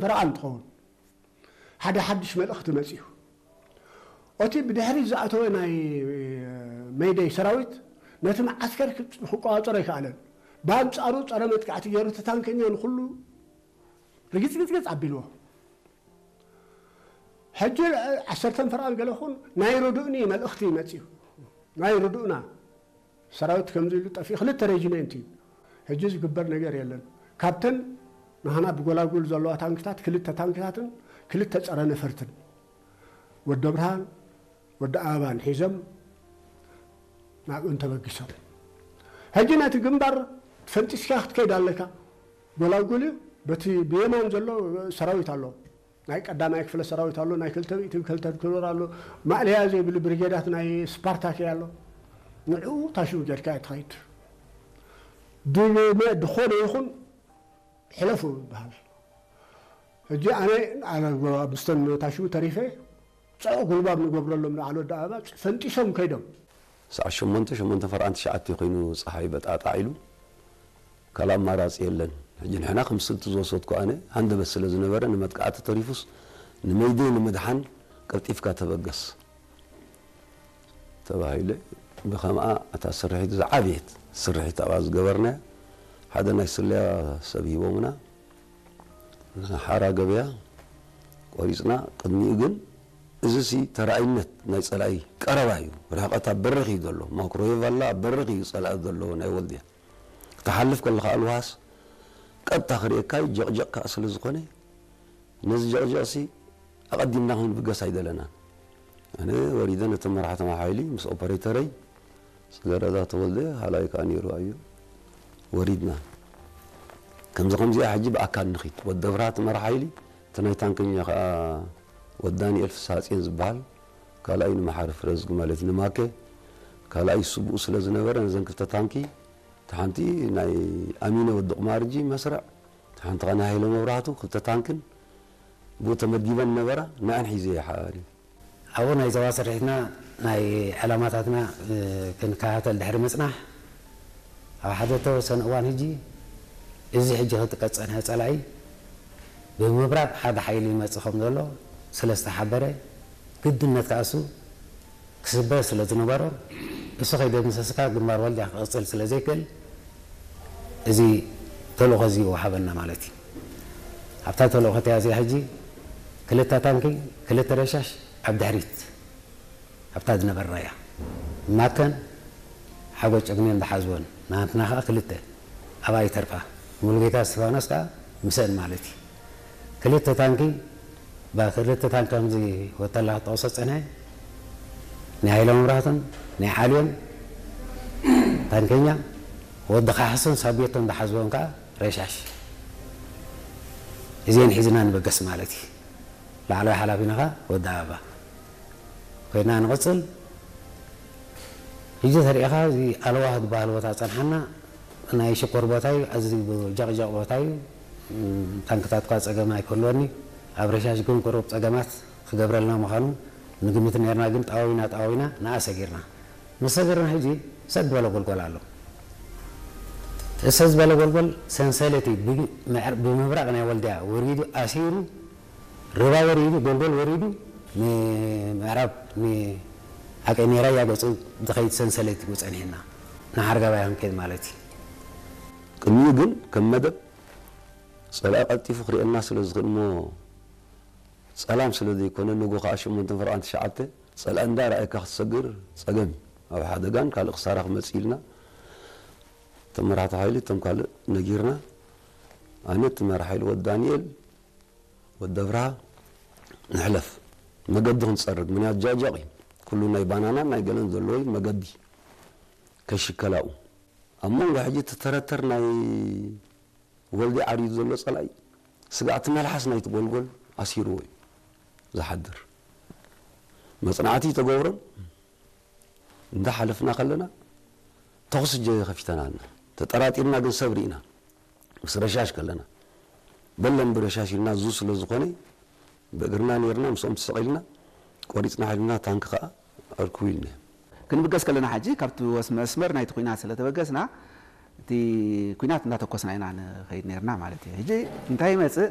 በረቓ እንትኸውን ሓደ ሓድሽ መልእኽቲ መጺኡ። እቲ ብድሕሪት ዝኣተወ ናይ መይደይ ሰራዊት ነቲ መዓስከር ክቋጸሮ ኣይከኣለን። ብኣንጻሩ ጸረ መጥቃዕቲ ገይሩ እቲ ታንከኛ ንኹሉ ርግጽግጽግጽ ኣቢልዎ። ሕጂ ልዕሊ ዓሰርተ ፈርቓን ገለ ኹን ናይ ርዱእኒ መልእኽቲ መጺኡ። ናይ ርዱእና ሰራዊት ከምዚ ኢሉ ጠፊኡ ክልተ ሬጂሜንት እዩ። ሕጂ ዝግበር ነገር የለን። ካብተን ንሃና ብጎላጉል ዘለዋ ታንክታት ክልተ ታንክታትን ክልተ ጸረ ነፈርትን ወዲ ኣብርሃን ወዲ ኣበባን ሒዞም ናብእን ተበጊሶም። ሕጂ ነቲ ግንባር ፈንጢስካ ክትከይድ ኣለካ። ጎላጉል እዩ። በቲ ብየማን ዘሎ ሰራዊት ኣሎ። ናይ ቀዳማይ ክፍለ ሰራዊት ኣሎ፣ ናይ ክልተ ሚእትን ክልተን ክሎር ኣሎ፣ ማእለያ ዘይብሉ ብሪጌዳት ናይ ስፓርታኪ ኣሎ። ንዕኡ ታሽሙ ጌርካ እያ ትኸይድ። ድልመ ድኾነ ይኹን ሕለፉ ይበሃል። ሕጂ ኣነ ኣነ ምስተን ታሽሙ ተሪፈ ጽዑቕ ጉልባብ ንገብረሎም ንዓል ወዲ ኣበባ ፈንጢሶም ከይዶም። ሰዓት ሸሞንተ፣ ሸሞንተ ፈርቓን ትሽዓተ ኮይኑ ጸሓይ በጣጣዕ ኢሉ ካልእ ኣማራጺ የለን። ሕጂ ንሕና ከም ስልቲ ዝወሰድኩ ኣነ ሃንደበት ስለ ዝነበረ ንመጥቃዕቲ ተሪፉስ ንመይደይ ንምድሓን ቀልጢፍካ ተበገስ ተባሂለ። ብኸምኣ እታ ስርሒት ዝዓበየት ስርሒት ኣብኣ ዝገበርናያ ሓደ ናይ ስለያ ሰብ ሂቦምና ንሓራ ገበያ ቆሪጽና። ቅድሚኡ ግን እዚሲ ተራእይነት ናይ ጸላኢ ቀረባ እዩ። ርሕቀት ኣብ በርኽ እዩ ዘሎ። ማክሮዌቭ ኣላ ኣብ በርኽ እዩ ጸላኢ ዘሎ ናይ ወልድያ። ክትሓልፍ ከለኻ ኣልዋስ ቀጥታ ክርእየካ እዩ፣ ጀቕጀቕ ከኣ ስለ ዝኾነ ነዚ ጀቕጀቕሲ ኣቐዲምና ክንብገስ ኣይደለናን። ኣነ ወሪደ ነቶም መራሕቲ ሓይሊ ምስ ኦፐሬተረይ ጽገረዳ ተወልደ ሃላይ ከኣ ነይሩ ኣዮ ወሪድና። ከምዚ ከምዚኣ ሕጂ ብኣካል ንኺድ። ወዲ ኣብርሃ እቲ መራሕ ሓይሊ፣ እቲ ናይ ታንከኛ ከኣ ወዲ ዳንኤል ፍስሃጽዮን ዝበሃል፣ ካልኣይ ንመሓሪ ፍረዝጊ ማለት ንማከ፣ ካልኣይ ስቡኡ ስለ ዝነበረ ነዘን ክልተ ታንኪ፣ እታ ሓንቲ ናይ ኣሚነ ወዲ ቁማርጂ መስርዕ፣ እታ ሓንቲ ከኣ ናይ ሃይለ መብራህቱ ክልተ ታንክን ብኡ ተመዲበን ነበራ፣ ንኣን ሒዘ እየ ሓባሪ። ኣብኡ ናይ ዞባ ስርሒትና ናይ ዕላማታትና፣ እ፣ ክንከታተል ድሕሪ ምጽናሕ፣ ኣብ ሓደ ተወሰነ እዋን ሕጂ እዚ ሕጂ ክጥቀጽ ጸንሐ ጸላኢ ብምብራቕ ሓደ ሓይሊ ይመጽእ ከም ዘሎ ስለ ዝተሓበረ፣ ግድነት ከኣ እሱ ክስበር ስለ ዝነበሮ፣ እሱ ከይደምሰስካ ግንባር ወልድያ ክቕጽል ስለ ዘይክእል፣ እዚ ተልእኾ እዚ ይወሃበና ማለት እዩ። ኣብታ ተልእኾ እቲኣ እዚኣ ሕጂ ክልተ ታንኪ፣ ክልተ ረሻሽ ኣብ ድሕሪት ኣብታ ዝነበርናያ ማከን ሓጎ ጨግኔን ዝሓዝወን፣ ናትና ኸኣ ክልተ ኣብኣ ይተርፋ። ሙሉጌታ እስቲፋኖስ ከኣ ምስአን ማለት እዩ። ክልተ ታንኪ፣ ባ-፣ ክልተ ታንኪ ከምዚ ወተላ ክጠቕሶ ጸንሐ፣ ናይ ሃይለ መብራህቱን ናይ ዓልዮን ታንከኛ፣ ወዲ ካሕሱን ሳቤቶን ዝሓዝወን ከኣ ረሻሽ። እዚአን ሒዝና ንበገስ ማለት እዩ። ላዕለዋይ ሓላፊና ኸኣ ወዲ ኣበባ ኮይና ንቕጽል። ሕጂ ተሪኢኻ እዚ ኣለዋህ ዝበሃል ቦታ ጸንሓና፣ ናይ ሽኮር ቦታ እዩ፣ ኣዝዩ ጀቕጀቕ ቦታ እዩ። እም፣ ታንክታት እኳ ጸገም ኣይክህልወኒ፣ ኣብ ረሻሽ ግን ቁሩብ ጸገማት ክገብረልና ምዃኑ ንግምት ነርና፣ ግን ጣዋዊና ጣዋዊና ንኣ ሰጊርና። ምስ ሰገርና ሕጂ ሰጥ ዝበለ ጎልጎል ኣሎ። እቲ ሰጥ ዝበለ ጎልጎል ሰንሰለት እዩ። ብ-፣ ምዕር-፣ ብምብራቕ ናይ ወልድያ ወሪዱ ኣሲሩ፣ ርባ ወሪዱ፣ ጎልጎል ወሪዱ፣ ንምዕራብ፣ ንዓቀይ ሜራያ ገጹ ዝኸይድ ሰንሰለት እዩ ጸኒሕና። ንሓርጋባይ ክንከይድ ማለት እዩ። ቅድሚኡ ግን ከም መደብ ጸላኢ ቀልጢፉ ክርእየና ስለ ዝኽእል እሞ ጸላም ስለ ዘይኮነ፣ ንጎ ከኣ ሸሞንተ ፈርቓን ትሽዓተ ጸላኢ እንዳረኣየካ ክትሰግር ጸገም እዩ። ኣብ ሓደጋን ካልእ ክሳራ ክመጽእ ኢልና እቶም መራሕቲ ሓይሊ እቶም ካልእ ነጊርና፣ ኣነ እቲ መራሒ ሓይሊ ወዲ ዳንኤል፣ ወዲ ኣብርሃ፣ ንሕለፍ መገዲ ክንጸርግ፣ ምኽንያት ጃጃቕ እዩ። ኩሉ ናይ ባናናን ናይ ገለን ዘለዎ እዩ፣ መገዲ ከይሽከላኡ። ኣብ መንጎ ሕጂ እቲ ተረተር ናይ ወልዲ ዓርዩ ዘሎ ጸላኢ ስጋዕቲ መልሓስ ናይቲ ጎልጎል ኣሲርዎ እዩ ዝሓድር። መጽናዕቲ ተገብሮም እንዳ ሓለፍና ከለና ተኹሲ እጀ ከፊተናልና። ተጠራጢርና ግን ሰብ ርኢና። ምስ ረሻሽ ከለና በለን ብረሻሽ ኢልና ዙ ስለ ዝኾነ ብእግርና ነይርና ምስኦም ተሰቒልና ቆሪጽና ሓይልና ታንክ ከኣ ኣርክቡ ኢልና። ክንብገስ ከለና ሕጂ ካብቲ ወስ-፣ መስመር ናይቲ ኲናት ስለ ተበገስና እቲ ኲናት እንዳተኮስና ኢና ንኸይድ ነይርና ማለት እዩ። ሕጂ እንታይ ይመጽእ?